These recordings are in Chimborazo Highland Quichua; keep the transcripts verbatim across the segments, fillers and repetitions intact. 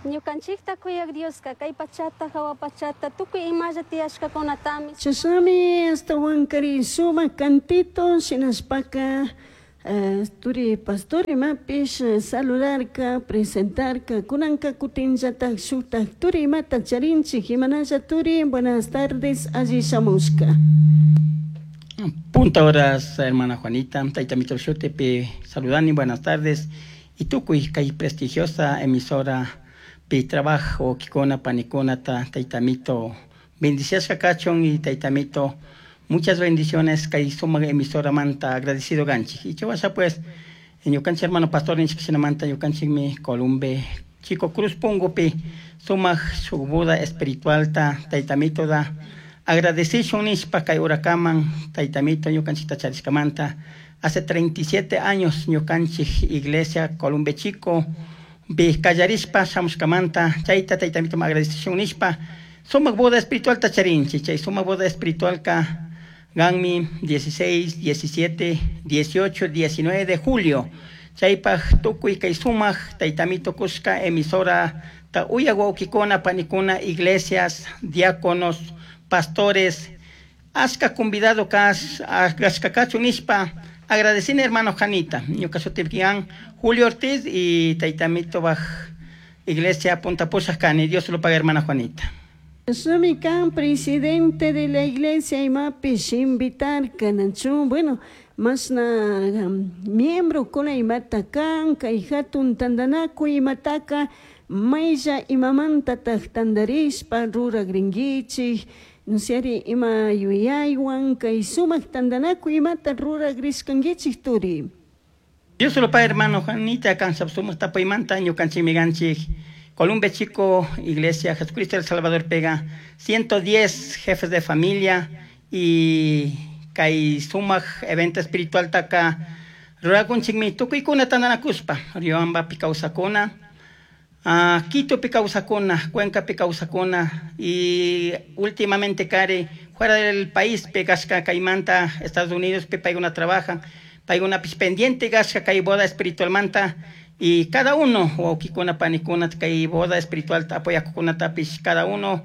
Ñukanchikta kuyak Dioska kay pachata hawa pachata tukuy imalla tiyashkakunatami. Chashnami ashtahuankari sumak cantito shinashpaka eh, turi pastor imapish eh, saludarka, presentarka. Kunanka kutinllatak shuktak turi imata charinchik. Imanalla turi, buenas tardes, alli shamushka. Punta horas, hermana Juanita, Taita Mito Shutepi, saludani, buenas tardes. Y tukuy kay prestigiosa emisora pi trabajo kikuna panikuna ta Taita Mito bendiciasqa kachun y Taita Mito muchas bendiciones kay sumak emisora manta agradecido ganchik. Y chawasha pues ñukanchik hermano pastor ninchik manta ñukanchikmi Columbe Chico Cruz Pungupi sumak shuk boda espiritual ta Taita Mito da agradecishun nishpa kay hurakaman Taita Mito ñukanchikta charishkamanta. Hace treinta y siete años ñukanchik iglesia Columbe Chico bi kallarishpa shamushkamanta chayta Taita Mito agradecishun nishpa sumak boda espiritual ta charinchik. Chay sumak boda espiritual ka ganmi dieciséis, diecisiete, dieciocho, diecinueve de julio. Chaypaj tukuy kay sumak Taita Mito kushka emisora ta uyak wawkikuna panikuna, iglesias, diáconos, pastores, ashka convidado kas ashka kachun nishpa agradecina, hermano Janita. Ñuka shutipian Julio Ortiz y Taita Mito baj iglesia Punta Pushaj kani. Dios lo paga, hermana Juanita. Chashnami kan presidente de la iglesia imapish invitarka nachu. Bueno, mashna um, miembro kuna imata kan kay hatun tantanakuy imataka maylla imamantataj tantarishpa ruragrinkichik nusyari ima yuyaywan kay sumak tantanakuy imata ruragrishkankichik, turi. Dios lo paga, hermano Juanita. Kan sumak tapuymanta ñukanchikmi ganchik Columbe Chico, Iglesia Jesucristo el Salvador pega ciento diez jefes de familia y kay sumak evento espiritual taka rurakunchikmi tukuykuna tantanakushpa Riobambapi kawsakuna, uh, Quitopi kawsakuna, Cuencapi kawsakuna y últimamente kari fuera del país pegashka kaymanta Estados Unidos pi paykuna trabajan, paykunapish pendiente kashka kay boda espiritualmanta y cada uno wawkikuna panikuna kay boda espiritual apoyakukunatapish cada uno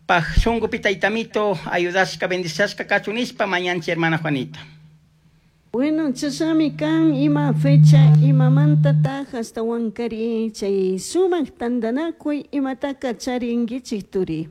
paj shunkupi Tayta Mito ayudashka bendiciashka kachun nishpa mañanchik, hermana Juanita. Bueno, chashnami kan. Ima fecha imamantataj ashtahuankari chay sumak tantanakuy imataka charinkichik, turi?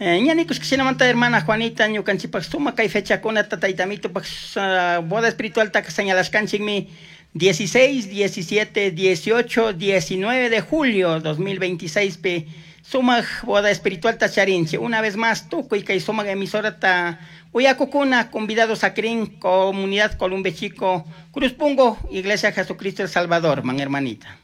Eh, ña nikushka shinamanta, hermana Juanita, ñukanchikpak sumak kay fechakunata Tayta Mitopak uh, boda espiritual taka señalashkanchikmi dieciséis, diecisiete, dieciocho, diecinueve de julio dos mil veintiséis pi sumak boda espiritual ta charinchik. Una vez más, tukuy kay sumak emisora ta uyakukuna convidados a comunidad Columbe Chico, Cruz Pungo, Iglesia Jesucristo el Salvador, man, hermanita.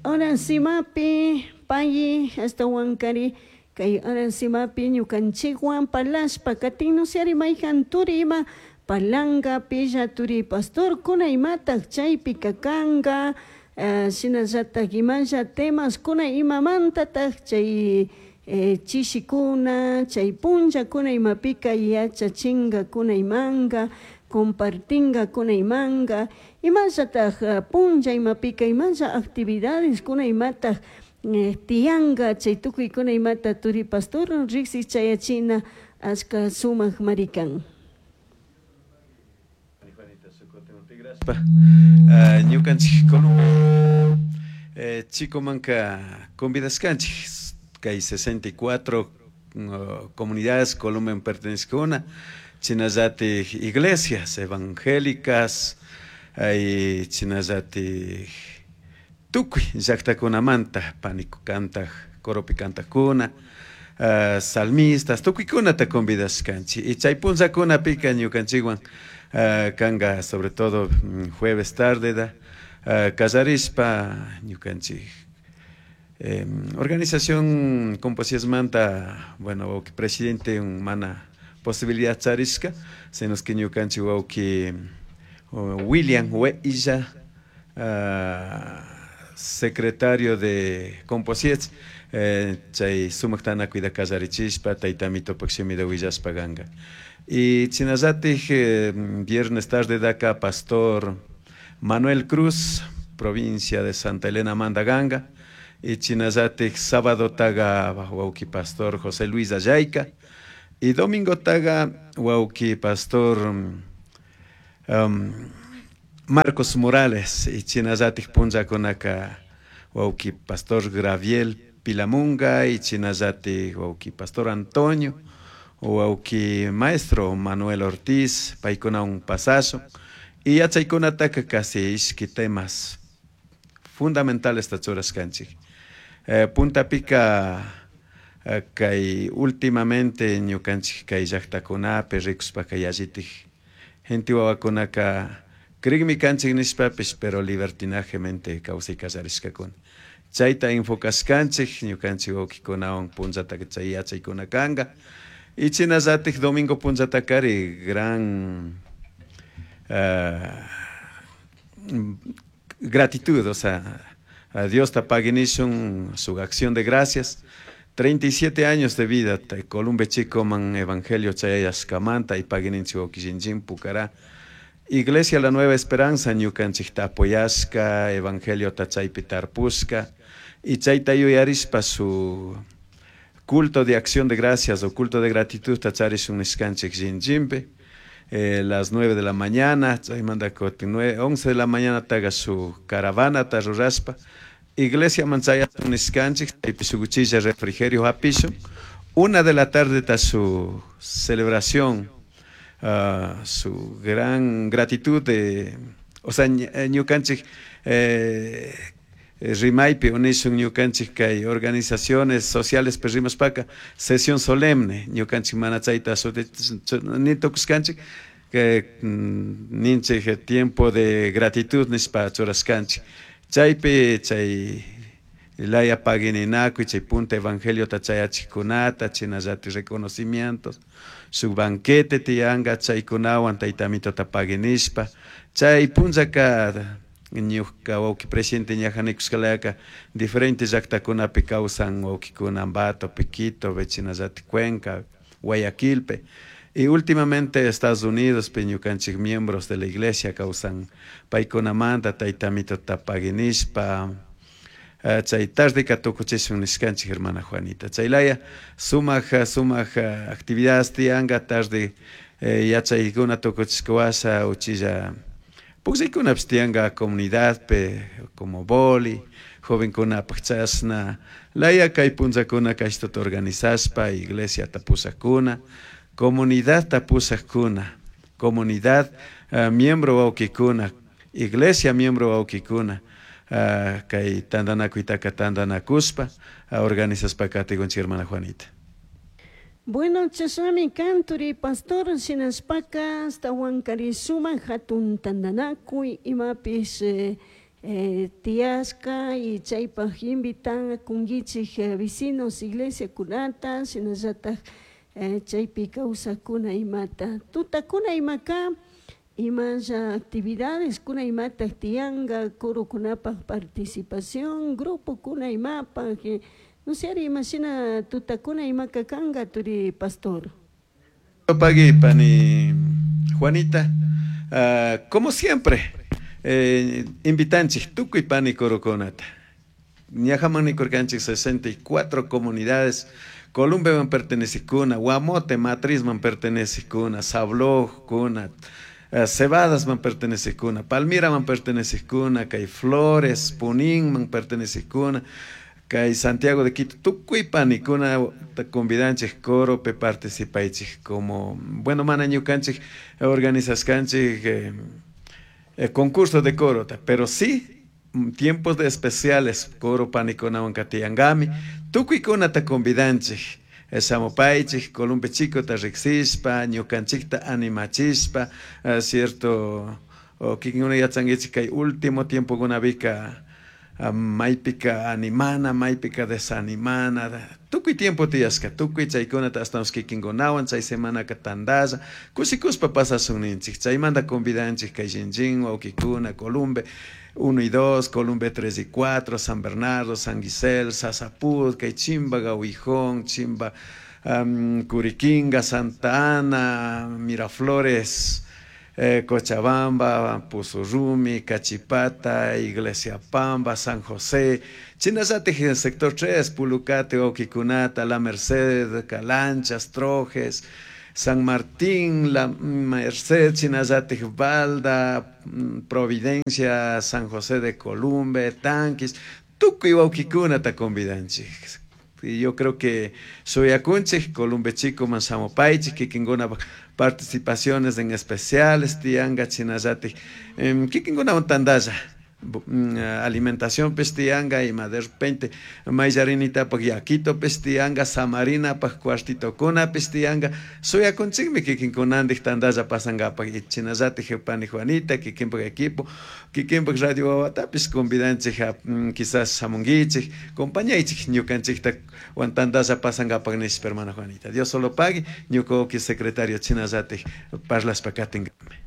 Ahora simapi payi ashtahuankari kay ahora simapi ñukanchikwan parlashpa katin nusyari mayjan turi ima parlanka pilla turi pastor kuna imataj chaypika kanka uh, shinallatak imalla temas kuna imamantataj chay eh, chishikuna chay punllakuna imapika yachachinkakuna imanka compartinkakuna imanka imallataj uh, punlla imapika imalla actividades kuna imataj eh, tiyanka chay tukuykuna imata turi pastor riksi chayachina ashka sumak marikan. Uh, ñukanchik Columbe eh, Chicomanka convidashkanchik kay sesenta y cuatro uh, comunidades Columbe pertenecekuna, chinallatik iglesias evangélicas ay chinallatik tukuy llaktakunamanta paniku kantaj coropi kantajkuna, uh, salmistas, tukuykunata convidashkanchik. Y chay punllakunapika ñukanchikwan uh, kanga sobre todo mm, jueves tarde da uh, kallarishpa ñukanchik eh, organización Composiesmanta. Bueno, wawki presidente mana posibilidad charishka, sino que ñukanchik wawki William Hueilla, uh, secretario de Composiets, eh, chay sumak tanakuyta kallarichishpa Tayta Mitopak shimita willashpa kanka. Y chinallatik eh, viernes tarde daka pastor Manuel Cruz. provincia de Santa Elena Mandaganga y chinallatik sábado taga wawki pastor José Luis Ayayka y domingo taga wawki pastor um, Marcos Morales y chinallatik punllakunaka wawki pastor Graviel Pilamunga y chinallatik wawki pastor Antonio wawki maestro Manuel Ortiz paykuna un pasazo y yachaykunataka casi ishki temas fundamentales churashkanchik eh, puntapika eh, kay últimamente ñukanchik kay llaktakunapi rikushpaka yallitik gente wawakunaka krikmi kanchik nishpapish pero libertinajemente kawsay kallarishkakuna chayta enfocashkanchik ñukanchik wawkikunawan punllataka chay yachaykuna kanka y chinallatik domingo punllatakari gran uh, gratitud, o sea, a Dios ta paginishun su acción de gracias. treinta y siete años de vida, Columbe Chico man evangelio chayashkamanta y pagininchik wawkishinchin Pucará. Iglesia La Nueva Esperanza ñukanchikta apoyashka, evangelio ta chaypi tarpushka y chayta yuyarishpa su culto de acción de gracias o culto de gratitud ta charishun nishkanchik llinchinpi. Eh, las nueve de la mañana, chaymanta kutin once de la mañana taga su caravana ta rurashpa iglesia manchayachun nishkanchik chaypi shuk uchilla refrigerio hapishun. Una de la tarde ta su celebración, uh, su gran gratitud de, o sea, ñukanchik eh, rimaypi unishun ñukanchik kay organizaciones sociales rimashpaka sesión solemne ñukanchik mana chayta ni tukushkanchik que ninchik tiempo de gratitud nishpa churashkanchik chaypi chay laya pagininakuy chay punta evangelio ta chayachikunata chinallatik reconocimientos shuk banquete tiyanka chaykunawan taytamitota paginishpa chay punllaka ñuka wawki presidente ñaja nikushkalayaka diferentes llaktakunapi kawsan wawkikuna Ambato, Quito, chinallatik Cuenca, Guayaquilpe y últimamente Estados Unidos pe ñukanchik miembros de la iglesia kawsan paykunamanta taytamitota paginishpa uh, chay tardeka tukuchishun nishkanchik hermana Juanita chaylaya sumak sumak actividades tiyanka tarde eh, yachaykuna tukuchishka washa uchilla pukllaykunapish tiyanka comunidadpe como boli jovenkunapak chashna laya kay punllakuna kashtata organizashpa iglesiata pushakuna comunidadta pushakuna comunidad uh, miembro wawkikuna iglesia miembro wawkikuna uh, kay tantanakuytaka tantanakushpa uh, organizashpa katikunchik hermana Juanita. Bueno, chashnami kan turi pastor shinashpaka ashtawankari sumak hatun tantanakuy imapish eh, eh, tiyashka y chaypak invitan kunkichik eh, vecinos iglesia kunata shinallatak eh, chaypi kawsakuna imata tutakuna imaka imalla actividades kuna imatak tiyanka corokunapak participación grupo kuna imapak eh, no sé, imashina tutakuna imaka kanka turi pastor. Pagui pani Juanita, uh, como siempre, eh, invitanchik tukuy pani corokunata. Ñajaman nikurkanchik sesenta y cuatro comunidades, Columbeman pertenecikuna, Guamote, Matrizman pertenecikuna, Sablojkuna, uh, Cebadasman pertenecikuna, Palmiraman pertenecikuna, kay Flores, Puninman pertenecikuna, kay Santiago de Quito, tukuy panikuna convidanchik corope participaychik como, bueno, mana ñukanchik organizashkanchik eh, eh, concurso de coro, pero sí tiempos de especiales coro panikunawan katiyankami tukuykunata convidanchik shamupaychik Columbe Chicota riksishpa ñukanchikta animachishpa uh, cierto o kikinkuna yachankichik kay último tiempokunapika maypika animana, maypika desanimana, tukuy tiempo tiyashka, tukuy chaykunata ashtawansh kikinkunawan chay semanaka tantalla, kushikuspa pasashun ninchik, chaymanta convidanchik kay Shinjin, wawkikuna, Columbe uno y dos, Columbe tres y cuatro, San Bernardo, San Gisel, Sasapud, kay Chimba, Gahuijón, Chimba, um, Curiquinga, Santa Ana, Miraflores, eh, Cochabamba, Pusurrumi, Cachipata, Iglesia Pamba, San José, Chinallatik sector tres, Pulucate, Oquicunata, La Merced, Calanchas, Trojes, San Martín, La Merced, Chinallatik, Balda, Providencia, San José de Columbe, Tanquis, tukuy wawkikunata convidanchik. Y yo creo que suyakunchik, Columbe Chico, Mansamopaichik, kikinkuna participaciones en especiales, tianga, chinallatik, kikinkuna tandalla, alimentación pestianga y de repente mayllarinitapak yakito pestianga, samarinapak cuartitokuna pestianga, suyakunchikmi kikinkunantik tandalla pasankapak y chinallatik pani Juanita, kikinpak equipo, kikinpak radio wawatapis convidanchik quizás shamunkichik, compañaychik ñukanchikta wan tandalla pasankapak nishpa hermana Juanita. Dios solo pague, ñuka secretario chinallatik parlashpa katinkami.